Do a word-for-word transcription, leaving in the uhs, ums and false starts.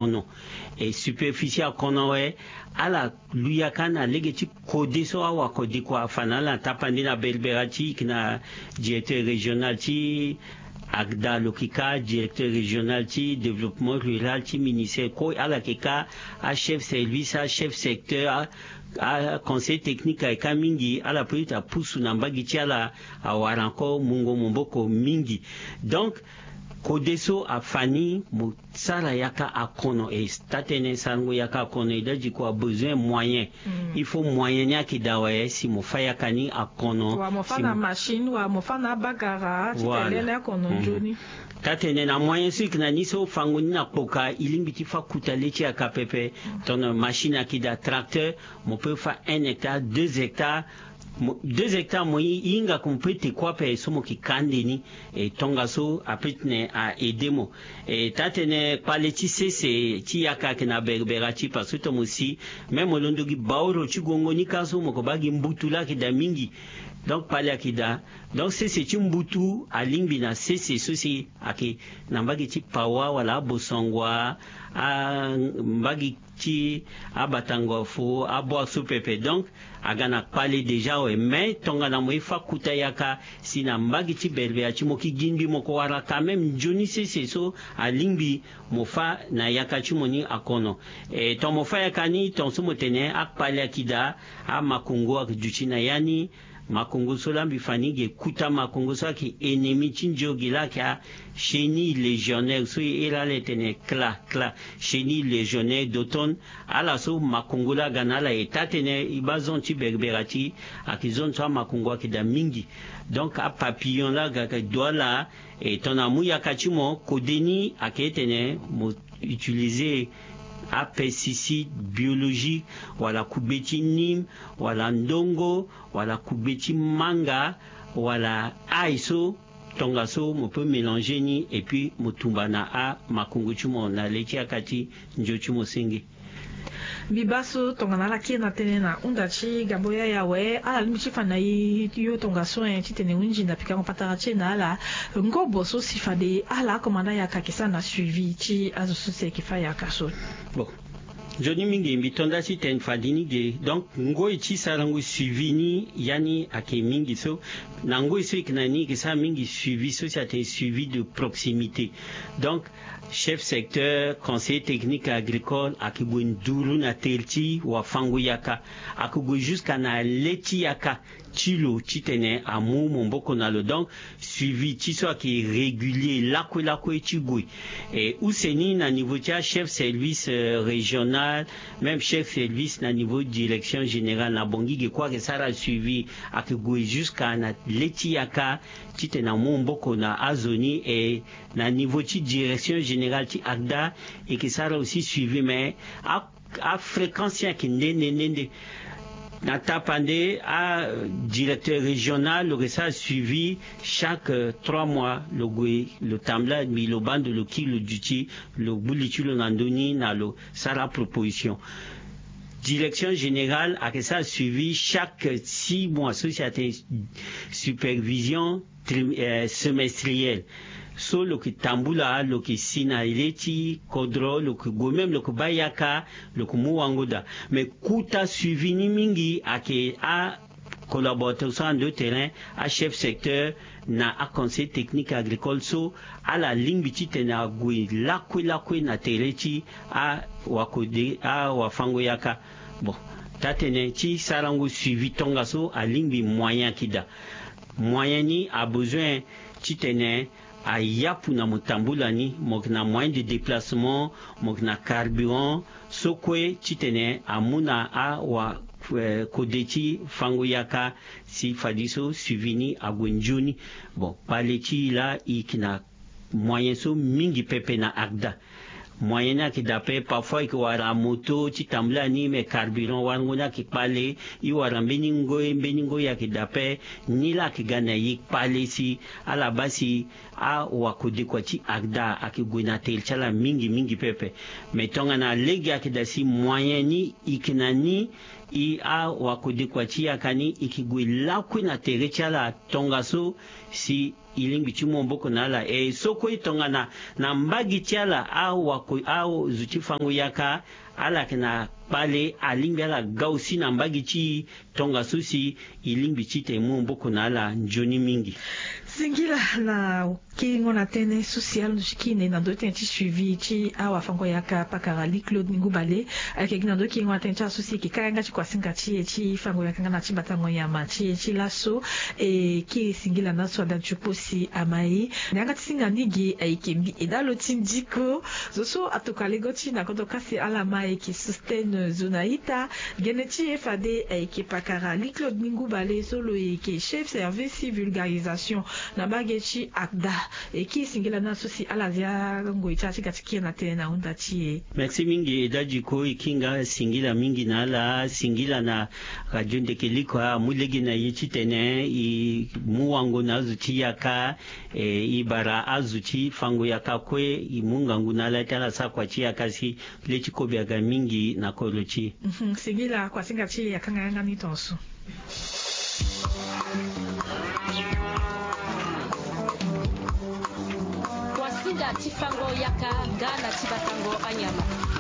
akono. E superficie akono awe, ala lu yaka na lege ti kode so awakodekua afa na ala na tapande na berbera ti yeke na directeur régional ti agda lo yeke ka, directeur régional ti développement rural ti ministère kue ala yeke ka, achef service, achef secteur, aconseil technique ayeke ka mingi. Ala peut ti apusu na mbage ti ala awara encore mungo maboko mingi. Donc kode so afa ni mo sara yaka akono. E taa-tënë sarango yaka akono e dadi kua besoin moyen. Il faut moyen ni ayeke daa awe si mo fa yaka ni akono. Wala mo fa na machine, wala mo fa na abagara ti tene ni akono nzoni. Taa-tënë na moyen so e yeke na ni so fango ni na kpoka e lingbi ti fa kuta le ti yaka pepe. Tongana machine ayeke daa, tracteur, mo peut fa un hectare, deux hectares. Deux hectares mo hinga ke mo peut te kue ape so mo yeke ka ande ni. E tongaso apeut titene a aide mo. E taa-tënë kpale ti sese ti yaka ayeke na berbera ti, parce que tongana mo si même mo londo gi baoro ti gongo ni kâ so mo yeke baa gi mbutu laa ayeke daa mingi. Donc kpale ayeke daa. Donc sese ti mbutu alingbi na sese so si ayeke na mbage ti Pawa wala Bossangoa, a mbage ti aBatangoafo, aboire so pepe. Donc aga na kpale déjà awe. Mais tongana mo ye fa kuta yaka si na mbage ti berbera ti mo yeke gi ngbi, mo yeke wara quand même nzoni sese so alingbi mo fa na yaka ti mo ni akono. E tongana mo fa yaka ni, tongaso mo tene akpale ayeke daa, amakongo ayeke duti na ya ni. Makongo so laa mbi fa ni ge kuta makongo so ayeke ennemi ti nzio ge laa ayeke achenille légionnaire so e iri ala e tene kla kla, chenille légionnaire d'automne. Ala so makongo laa aga na ala. E taa-tënë e baa zone ti berbera ti ayeke zone so amakongo ayeke daa mingi. Donc apapillon laa aga ayeke do ala. E tongana amu yaka ti mo, kode ni ayeke tene mo utiliser apesticide biologique, wala kugbe ti nîmes, wala ndongo, wala kugbe ti manga, wala ail so tongaso mo peut mélanger ni et puis mo tumba na amakongo ti mo na le ti yaka ti nzio ti mo senge. Mbi baa so tongana ala kiri na tënë na hunda ti Gabo Yaya awe, ala lingbi ti fa na e yo tongaso, eh, titene e hunzi na pikango patara ti e na ala. Ngobo so si fade ala akomanda yaka ayeke sara na suivi ti azo so si ayeke fa yaka so. Bon, nzoni mingi mbi to nda ti tene fade ni ge. Donc ngoi ti sarango suivi ni, ya ni ayeke mingi so. Na ngoi so e yeke na ni e yeke sara mingi suivi so si atene suivi de proximité. Donc chef secteur, conseiller technique agricole ayeke gue nduru na tere ti wafango yaka. Ayeke gue jusqu'à na le ti yaka ti lo titene amu maboko na lo. Donc suivi ti so ayeke régulier lakue lakue ti gue. E use ni na niveau ti achef service, euh, régional, même chef service na niveau direction générale, na Bangui ge kue ayeke sara suivi. Ayeke gue jusqu'à na le ti yaka titene amu maboko na azo ni. E na niveau ti direction générale ti ACDA, e yeke sara aussi suivi, mais a, afréquence ni ayeke nde nde nde nde. Na tapande, adirecteur régional lo yeke sara suivi chaque, euh, trois mois. Lo gue lo tambula mbi, lo baa ndo, lo kiri lo duti, lo gbu li ti lo na ndö ni na lo sara proposition. Direction générale ayeke sara suivi chaque six mois so si atene supervision tri-, eh, semestrielle. So lo yeke tambula, lo yeke si na le ti kodro, lo yeke gue même, lo yeke baa yaka, lo yeke mu wango daa. Mais kota suivi ni mingi ayeke acollaborateur so ande terrain, achef secteur na aconseil technique agricole so ala lingbi titene ague lakue lakue na tere ti awakode, awafango yaka. Bon, taa-tënë ti sarango suivi tongaso alingbi moyen ayeke daa. Moyen ni abezoin titene ayapu na mo tambula ni, mo yeke na moyen de déplacement, mo yeke na carburant, so kue titene amu na awa, eh, kode ti fango yaka si fadeso suivi ni ague nzoni. Bon, kpale ti e laa e yeke na moyen so mingi pepe na ACDA. Moyen ni ayeke daa ape, parfois e yeke wara moto ti tambula ni, mais carburant warango ni ayeke kpale. E wara mbeni ngoi, mbeni ngoi ayeke daa ape. Ni laa ayeke ga na e kpale si ala baa si awakodekua ti ACDA ayeke gue na tere ti ala mingi mingi pepe. Mais tongana lege ayeke daa si moyen ni e yeke na ni, e awakodekua ti yaka ni e yeke gue lakue na tere ti ala tongaso si E lingbi ti mu maboko na ala. E so kue tongana na mbage ti ala, awako azo ti fango yaka, ala yeke na kpale, alingbi ala ga aussi na mbage ti e. Tongaso si e lingbi titene e mu maboko na ala nzoni mingi. Singila na kengo na tënë so si ala duti kine na ndo tënë ti suivi ti awafango-yaka pakara Louis Claude Ningou Bale. Ayeke gi na ndo kengo na tënë ti ala so si e yeke ka yanga ti kuasinga ti e ti fango-yaka nga na ti batango nyama ti e ti laso. E ke singila na so ada ti kpo si ama e na yanga ti singa ni ge ayeke mbi e dalo ti ndiko. Zo so atokua lego ti na kodro kasi ala ma ayeke Sostène Zonaïta. Gene ti e fade ayeke pakara Louis Claude Ningou Bale so lo yeke chef service vulgarisation na mbage ti ACDA. E ke singila na so si ala zia ngoi ti ala ti ga ti kiri na tënë na hunda ti e. Merci mingi, e dadi ko e kinga singila mingi na ala. Singila na Radio Ndeke Liko amu lege na e titene e mu wango na azo ti yaka. E, e bara azo ti fango yaka kue e mu ngangu na ala ti ala sara kua ti yaka si le ti kobe aga mingi na kodro ti e. Mhm, singila, kuasinga ti e akanga yanga ni tongaso. Kuasinga ti fango yaka nga na ti batango anyama.